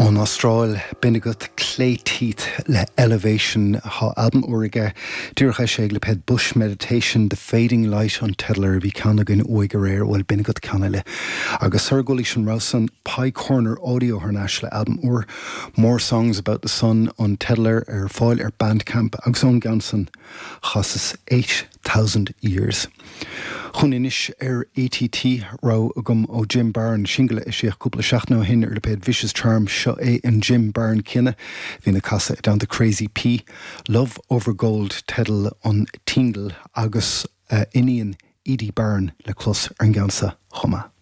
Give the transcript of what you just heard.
Ón Astráil, b'in agat Clay Teeth le Elevation. Tá albam úr aige, díreach eisithe ag lipéad Bush Meditation, The Fading Light an teideal air. Bhí ceann againn uaidh aréir, bhuel, b'in agat ceann eile. Agus sara gcodlaís an rogha san, Pye Corner Audio thar n-ais le albam úr, More Songs About the Sun an teideal air, ar fáil ar Bandcamp agus ón gceann san, chasas 8000 Years. Chugainn anois ar ATT, rogha agam ó Jim Barron, singil a eisíodh cúpla seachtain ó shin ar lipéad Vicious Charm. Seo é an Jim Barron céanna a bhíonn ag casadh i dteannta Crazy P. Love Over Gold teideal an tsingil agus a iníon Edie Barron le clos ar an gceann seo chomh maith.